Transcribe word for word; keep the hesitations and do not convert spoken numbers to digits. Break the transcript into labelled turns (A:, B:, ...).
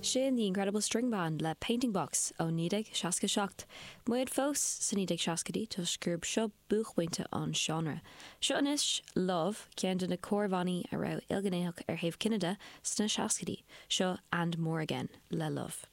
A: Sin The Incredible String Band le Painting Box ó naoi déag seasca seacht. Muid fós sa naoi déag seascaidí toisc gurb seo buaicphointe an seánra. Seo anois Love ceann de na córbhannaí a raibh ilghnéitheach ar thaobh cine de sna seascaidí, seo And More Again le Love.